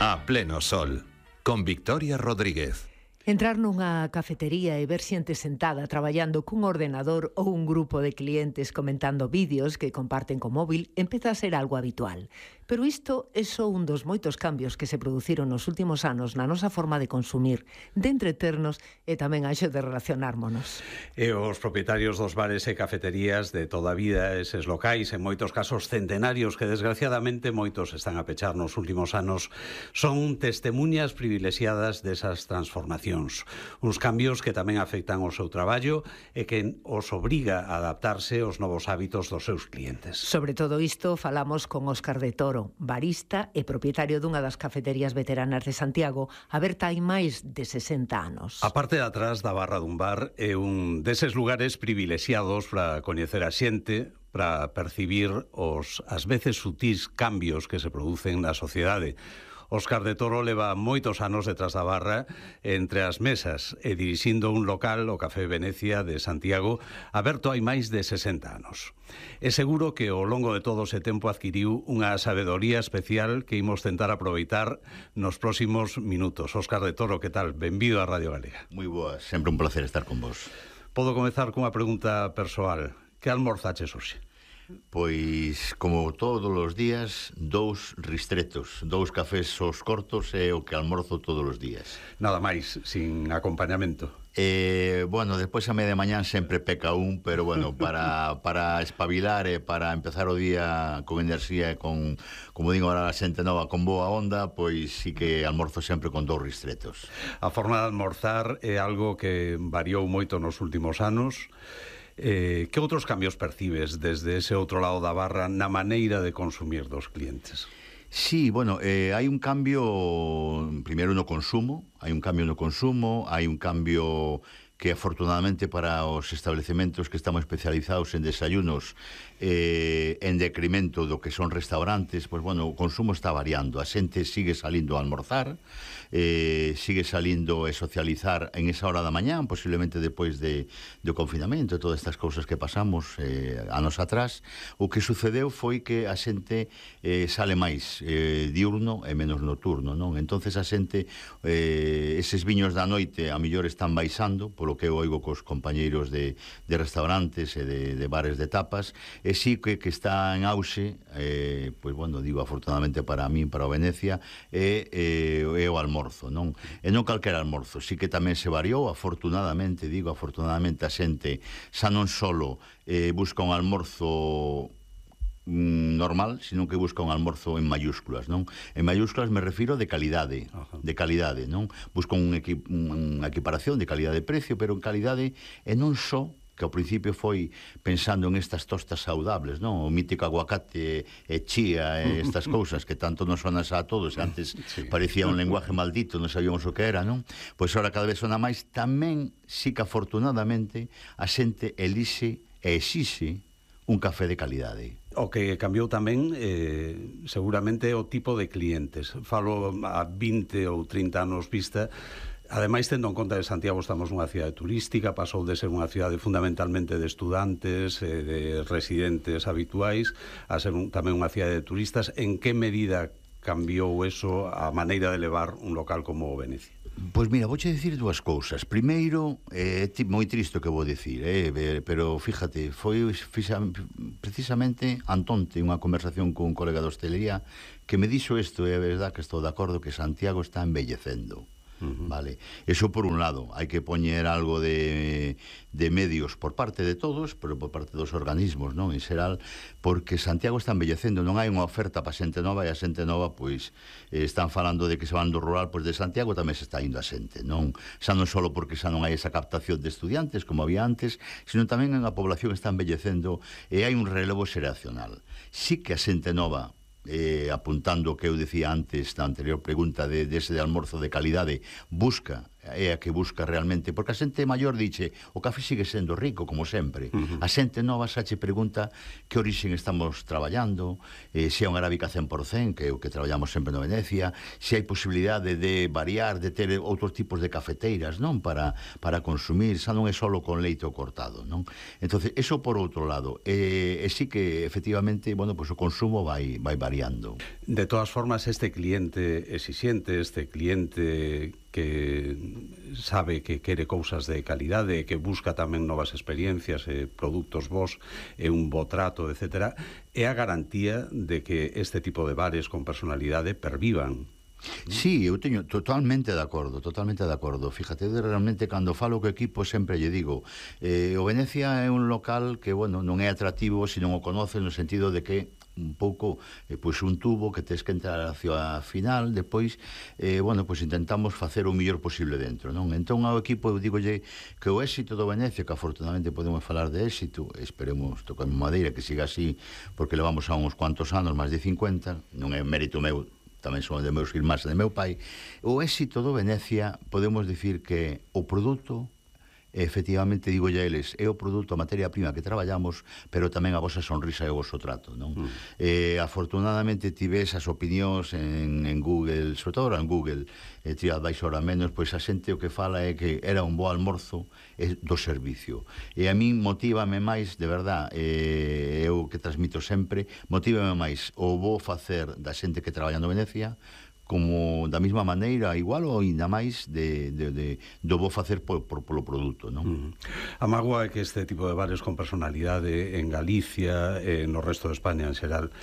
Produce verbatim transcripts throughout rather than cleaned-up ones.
A pleno sol, con Victoria Rodríguez. Entrar nunha cafetería e ver xente sentada traballando cun ordenador ou un grupo de clientes comentando vídeos que comparten co móvil empeza a ser algo habitual. Pero isto é só un dos moitos cambios que se produciron nos últimos anos na nosa forma de consumir, de entreternos e tamén a xo de relacionármonos. E os propietarios dos bares e cafeterías de toda a vida, eses locais, en moitos casos centenarios, que desgraciadamente moitos están a pechar nos últimos anos, son testemunhas privilexiadas desas transformacións. Uns cambios que tamén afectan o seu traballo e que os obriga a adaptarse aos novos hábitos dos seus clientes. Sobre todo isto falamos con Óscar de Toro, barista e propietario dunha das cafeterías veteranas de Santiago, aberta hai máis de sesenta anos. A parte de atrás da barra dun bar é un deses lugares privilexiados para coñecer a xente, para percibir os, ás veces, sutís cambios que se producen na sociedade. Óscar de Toro leva moitos anos detrás da barra entre as mesas e dirixindo un local, o Café Venecia de Santiago, aberto hai máis de sesenta anos. É seguro que ao longo de todo ese tempo adquiriu unha sabedoría especial que imos tentar aproveitar nos próximos minutos. Óscar de Toro, que tal? Benvido á Radio Galega. Moi boas, sempre un placer estar con vos. Podo comezar cunha pregunta persoal. Que almorzaches hoxe? Pois, como todos os días, dous ristretos, dous cafés aos cortos é o que almorzo todos os días. Nada máis, sin acompañamento. Eh, bueno, despois a media mañán sempre peca un, pero bueno, para, para espabilar e para empezar o día con enerxía e con, como digo ahora a xente nova, con boa onda, pois sí que almorzo sempre con dous ristretos. A forma de almorzar é algo que variou moito nos últimos anos. Eh, que outros cambios percibes desde ese outro lado da barra na maneira de consumir dos clientes? Sí, bueno, eh, hai un cambio primeiro no consumo, hai un cambio no consumo, hai un cambio que afortunadamente para os establecementos que estamos especializados en desayunos eh, en decremento do que son restaurantes, pois bueno, o consumo está variando, a xente sigue salindo a almorzar, eh, sigue salindo a socializar en esa hora da mañán, posiblemente depois de, do confinamento e todas estas cousas que pasamos eh, anos atrás. O que sucedeu foi que a xente eh, sale máis eh, diurno e menos nocturno, non? Entonces a xente, eh, eses viños da noite a mellor están baixando, polo que eu oigo cos compañeiros de, de restaurantes e de, de bares de tapas, e sí que, que está en auxe, eh, pois bueno, digo afortunadamente para min, para o Venecia, é, é, é o almorzo, non? E non calquera almorzo, sí que tamén se variou, afortunadamente, digo afortunadamente a xente xa non solo eh, busca un almorzo normal, sino que busca un almorzo en mayúsculas, non? En mayúsculas me refiro de calidade, Ajá. de calidade, non? Busco un equi, unha equiparación de calidade de precio, pero en calidade e non só que ao principio foi pensando en estas tostas saudables, non? O mítico aguacate e chía e estas cousas que tanto nos sonan a todos, antes sí. parecía un lenguaje maldito, non sabíamos o que era, non? Pois agora cada vez sona máis, tamén sí que afortunadamente a xente elixe e exixe un café de calidade. O que cambiou tamén eh, seguramente o tipo de clientes. Falo a vinte ou trinta anos vista. Ademais, tendo en conta que Santiago estamos nunha cidade turística, pasou de ser unha cidade fundamentalmente de estudantes, eh, de residentes habituais, a ser un, tamén unha cidade de turistas. En que medida cambiou eso a maneira de levar un local como o Venecia? Pois mira, vouche dicir dúas cousas. Primeiro, é eh, moi triste o que vou dicir, eh, pero fíjate, foi fixa, precisamente antonte unha conversación con un colega de hostelería que me dixo isto, e é verdad que estou de acordo que Santiago está envellecendo. Uh-huh. Vale, eso por un lado, hai que poñer algo de, de medios por parte de todos, pero por parte dos organismos, non? En xeral, porque Santiago está envellecendo, non hai unha oferta para xente nova, e a xente nova, pois, eh, están falando de que se van do rural, pois de Santiago tamén se está indo a xente, non? Xa non só porque xa non hai esa captación de estudiantes como había antes, sino tamén a población está envellecendo e hai un relevo xeracional. Sí que a xente nova, eh, apuntando o que eu decía antes na anterior pregunta de, de ese de almorzo de calidade, busca é a que busca realmente, porque a xente maior dice, o café sigue sendo rico, como sempre. Uh-huh. A xente nova xa che pregunta que orixen estamos traballando, eh, se é un arábica cen por cen, que é o que traballamos sempre no Venecia, se hai posibilidade de variar, de ter outros tipos de cafeteiras, non? Para, para consumir, xa non é solo con leite ou cortado, non? Entonces, eso por outro lado. E, e sí que, efectivamente, bueno, pues o consumo vai, vai variando. De todas formas, este cliente exixente, este cliente que sabe que quere cousas de calidade, que busca tamén novas experiencias e produtos vos e un bo trato, etcétera, é a garantía de que este tipo de bares con personalidade pervivan. Sí, eu teño totalmente de acordo, totalmente de acordo. Fíjate, realmente, cando falo co equipo sempre lle digo, eh, o Venecia é un local que, bueno, non é atractivo se non o conoce, no sentido de que un pouco, eh, pois un tubo que tes que entrar hacia a final, depois, eh, bueno, pois intentamos facer o mellor posible dentro, non? Entón, ao equipo, eu digolle que o éxito do Venecia, que afortunadamente podemos falar de éxito, esperemos, tocamos madeira, que siga así, porque levamos a uns cuantos anos, máis de cincuenta, non é mérito meu, tamén son de meus irmáns e de meu pai. O éxito do Venecia, podemos dicir que o produto, efectivamente, digo ya eles, é o produto, a materia prima que traballamos, pero tamén a vosa sonrisa e o voso trato, non? Mm. Eh, afortunadamente tive esas opinións en, en Google, sobre todo en Google, eh, TripAdvisor a menos, pois a xente o que fala é que era un bo almorzo eh, do servicio. E a min motívame máis, de verdad, eh, eu que transmito sempre, motívame máis o bo facer da xente que traballa no Venecia, como da mesma maneira, igual ou ainda máis de, de, de, do bo facer por, por, polo produto, non? Mm. A mágoa é que este tipo de bares con personalidade en Galicia e no resto de España en xeral,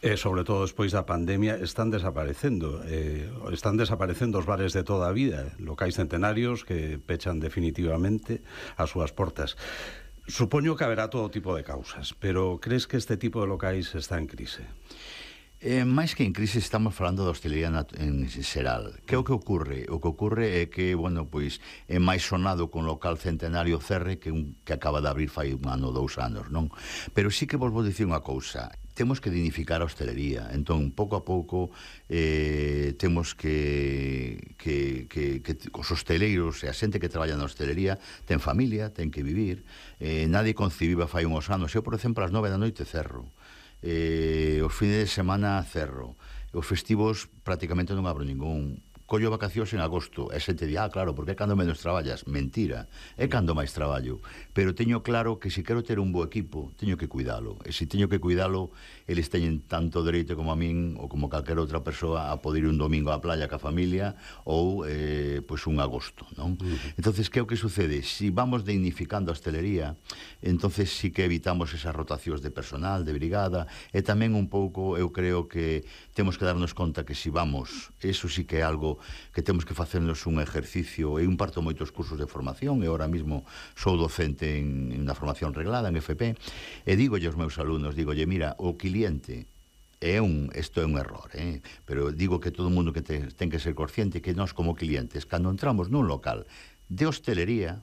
e sobre todo despois da pandemia, están desaparecendo. Eh, están desaparecendo os bares de toda a vida, locais centenarios que pechan definitivamente as súas portas. Supoño que haberá todo tipo de causas, pero crees que este tipo de locais está en crise? Eh, máis que en crise estamos falando da hostelería en xeral. Que é o que ocorre? O que ocorre é que, bueno, pois é máis sonado con local centenario Cerre que un que acaba de abrir fai un ano, dous anos, non? Pero sí que vos vou dicir unha cousa. Temos que dignificar a hostelería. Entón, pouco a pouco eh, temos que, que, que, que os hosteleiros e a xente que traballa na hostelería ten familia, ten que vivir. Eh, nadie concibiba fai uns anos. Eu, por exemplo, ás nove da noite cerro. Eh, os fines de semana cerro, os festivos prácticamente non abro ningún. Collo vacacións en agosto, e xente di, ah, claro, porque é cando menos traballas. Mentira, é cando máis traballo. Pero teño claro que se quero ter un bo equipo, teño que cuidalo. E se teño que cuidalo, eles teñen tanto dereito como a min, ou como calquera outra persoa, a poder ir un domingo á playa ca familia, ou, eh, pois, un agosto, non? Uh-huh. Entonces, que é o que sucede? Si vamos dignificando a hostelería, entonces sí que evitamos esas rotacións de personal, de brigada, e tamén un pouco, eu creo que temos que darnos conta que si vamos, eso sí que é algo que temos que facernos un exercicio. Eu imparto moitos cursos de formación e ahora mismo sou docente en, en unha formación reglada en F P e digo aos meus alumnos, digolle, mira, o cliente é un, isto é un error, eh? Pero digo que todo o mundo que te, ten que ser consciente que nós como clientes, cando entramos nun local de hostelería,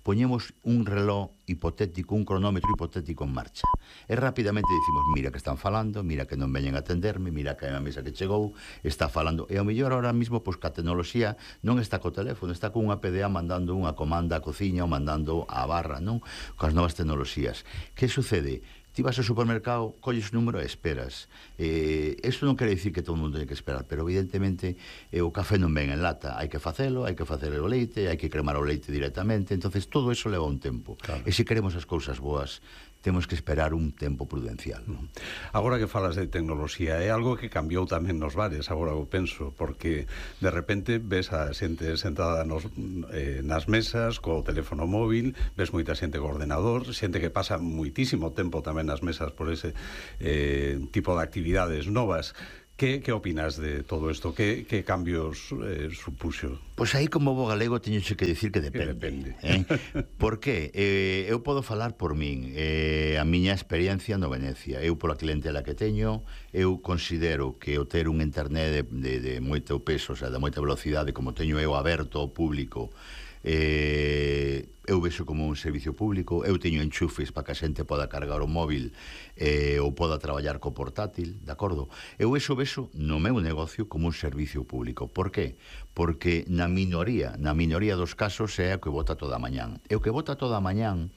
poñemos un reloj hipotético, un cronómetro hipotético en marcha. E rapidamente dicimos, mira que están falando, mira que non veñen a atenderme, mira que a mesa que chegou está falando. E ao mellor ahora mismo, pois, que a tecnoloxía non está co teléfono, está con unha P D A mandando unha comanda á cociña ou mandando á barra, non? Coas novas tecnoloxías. Que sucede? Ti vas ao supermercado, colles o número e esperas. Eh, eso non quere dicir que todo o mundo ten que esperar, pero evidentemente eh, o café non ven en lata. Hai que facelo, hai que facer o leite, hai que cremar o leite directamente. Entonces todo eso leva un tempo. Claro. E se queremos as cousas boas, temos que esperar un tempo prudencial. Agora que falas de tecnoloxía, é algo que cambiou tamén nos bares, agora o penso, porque de repente ves a xente sentada nos, eh, nas mesas, co teléfono móvil, ves moita xente co ordenador, xente que pasa moitísimo tempo tamén nas mesas por ese eh, tipo de actividades novas. Que, que opinas de todo isto? Que, que cambios eh, supuxo? Pois aí, como bo galego, teño que dicir que depende. Que depende. Eh? Por que? Eh, eu podo falar por min. Eh, a miña experiencia no Venecia. Eu, pola clientela que teño, eu considero que o ter un internet de, de, de moito peso, o sea, de moita velocidade, como teño eu aberto ao público, eh, eu vexo como un servicio público, eu teño enchufes para que a xente poda cargar o móvil eh, ou poda traballar co portátil, de acordo? Eu eso vexo no meu negocio como un servicio público. Por qué? Porque na minoría, na minoría dos casos é o que vota toda a mañán. E o que vota toda a mañán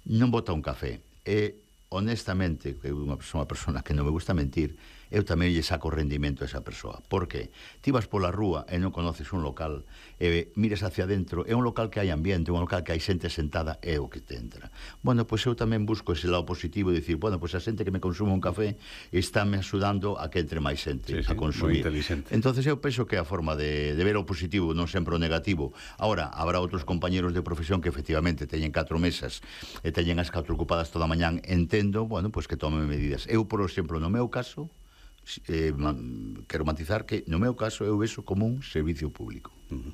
non vota un café. E, honestamente, que eu sou unha persona que non me gusta mentir, eu tamén lle saco rendimento a esa persoa. Por qué? Ti vas pola rúa e non conoces un local e mires hacia dentro, é un local que hai ambiente, un local que hai xente sentada, é o que te entra. Bueno, pois eu tamén busco ese lado positivo de dicir, bueno, pois a xente que me consume un café está me axudando a que entre máis xente sí, sí, a consumir. Entonces eu penso que é a forma de, de ver o positivo, non sempre o negativo. Ahora, habrá outros compañeros de profesión que efectivamente teñen catro mesas e teñen as catro ocupadas toda a mañán, entendo, bueno, pois que tomen medidas. Eu, por exemplo, no meu caso, Eh, man, quero matizar que no meu caso eu vexo como un servicio público. Uh-huh.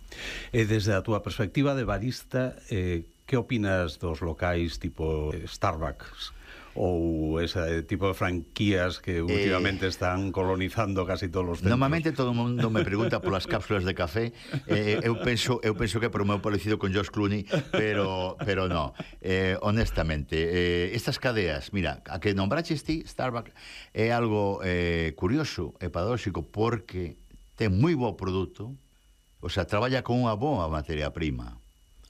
E desde a túa perspectiva de barista, eh, que opinas dos locais tipo Starbucks ou ese tipo de franquías que últimamente eh, están colonizando casi todos os centros? Normalmente todo o mundo me pregunta polas cápsulas de café. eh, eu penso eu penso que é por o meu parecido con George Clooney, pero pero no. Eh, honestamente, eh, estas cadeas, mira, a que nombraches ti, Starbucks, é algo eh, curioso e paradóxico porque ten moi bo produto, o sea, traballa con unha boa materia prima.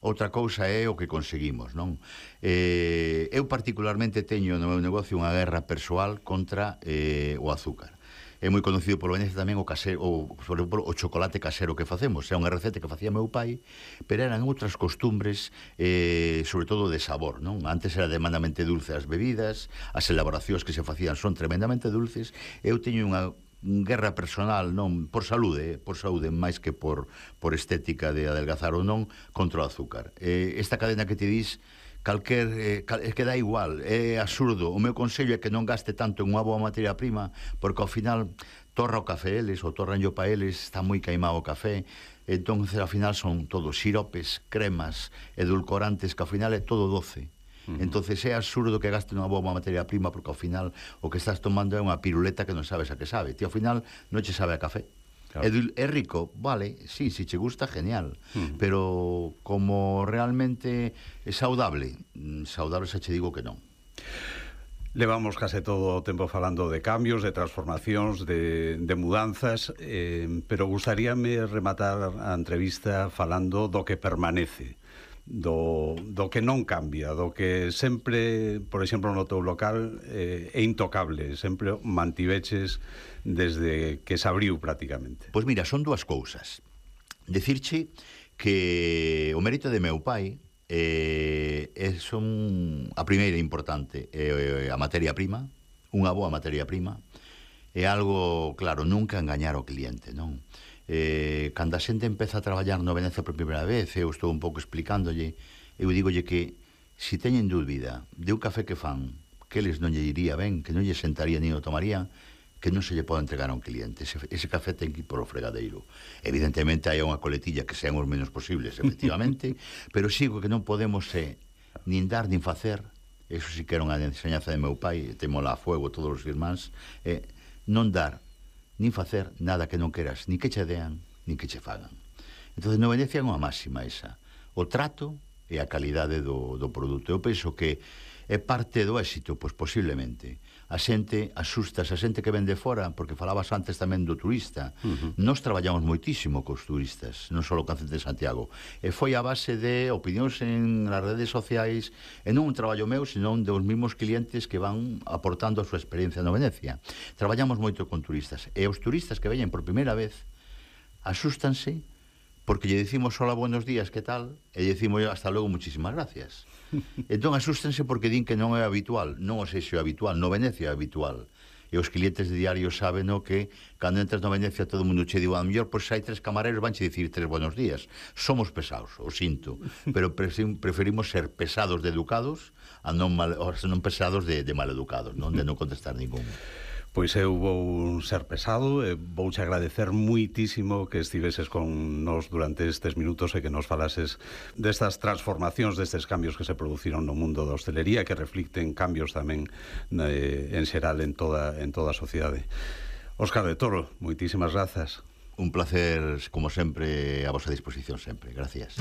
Outra cousa é o que conseguimos, non? Eh, eu particularmente teño no meu negocio unha guerra persoal contra eh, o azúcar. É moi conocido polo Venecia tamén o casero, o, por exemplo, o chocolate casero que facemos. É unha receta que facía meu pai, pero eran outras costumbres, eh, sobre todo de sabor, non? Antes era tremendamente dulce as bebidas, as elaboracións que se facían son tremendamente dulces. Eu teño unha guerra personal, non por saúde, por saúde máis que por por estética de adelgazar ou non, contra o azúcar. Eh, esta cadena que te dis, calquer eh, cal, é que dá igual, é absurdo. O meu consello é que non gaste tanto en unha boa materia prima, porque ao final torra o café eles, ou torran yo pa eles, está moi caimado o café. Entón, ao final son todos siropes, cremas, edulcorantes, que ao final é todo doce. Uh-huh. Entonces é absurdo que gaste unha boa materia prima, porque ao final o que estás tomando é unha piruleta que non sabes a que sabe. Ti ao final non che sabe a café. Claro. É, é rico, vale, sí, si che gusta, genial. Uh-huh. Pero como realmente é saudable, saudable xa che digo que non. Levamos case todo o tempo falando de cambios, de transformacións, de, de mudanzas, eh, pero gustaríame rematar a entrevista falando do que permanece. Do, do que non cambia, do que sempre, por exemplo, no teu local eh, é intocable, sempre mantiveches desde que se abriu prácticamente. Pois mira, son dúas cousas. Decirche que o mérito de meu pai eh, é son a primeira importante, eh, a materia prima, unha boa materia prima, é algo, claro, nunca engañar ao cliente, non? Eh, cando a xente empeza a traballar no Venecia por primeira vez, eu estou un pouco explicándolle, eu digolle que si teñen dúbida de un café que fan que eles non lle iría ben, que non lle sentaría ni o tomaría, que non se lle pode entregar a un cliente. Ese, ese café ten que ir polo fregadeiro. Evidentemente hai unha coletilla que sean os menos posibles, efectivamente, pero sigo que non podemos eh, nin dar nin facer. Eso sí que era unha enseñanza de meu pai, temola a fuego todos os irmáns, eh, non dar nin facer nada que non queras, ni que che dean, ni que che fagan. Entón, no Venecia é unha máxima esa. O trato e a calidade do, do produto. Eu penso que é parte do éxito, pois posiblemente. A xente asusta, a xente que ven de fora, porque falabas antes tamén do turista. Uh-huh. Nós traballamos moitísimo cos turistas, non só o Cáncer de Santiago. E foi a base de opinións en as redes sociais, e non un traballo meu, senón dos mesmos clientes que van aportando a súa experiencia no Venecia. Traballamos moito con turistas. E os turistas que veñen por primeira vez asústanse porque lle decimos hola, buenos días, que tal? E lle decimos hasta logo, muchísimas gracias. Entón asústense porque din que non é habitual. Non o sei se é habitual, no Venecia é habitual. E os clientes de diario saben no que cando entras no Venecia todo o mundo che digo, a mellor, pois hai tres camareros vanche dicir tres buenos días. Somos pesados, o sinto, pero preferimos ser pesados de educados a non, mal, a non pesados de, de maleducados, non de non contestar ningún. Pois eu vou ser pesado e vouche agradecer muitísimo que estiveses con nos durante estes minutos e que nos falases destas transformacións, destes cambios que se produciron no mundo da hostelería, que reflicten cambios tamén eh, en xeral en toda, en toda a sociedade. Óscar de Toro, moitísimas grazas. Un placer, como sempre, a vosa disposición sempre. Gracias.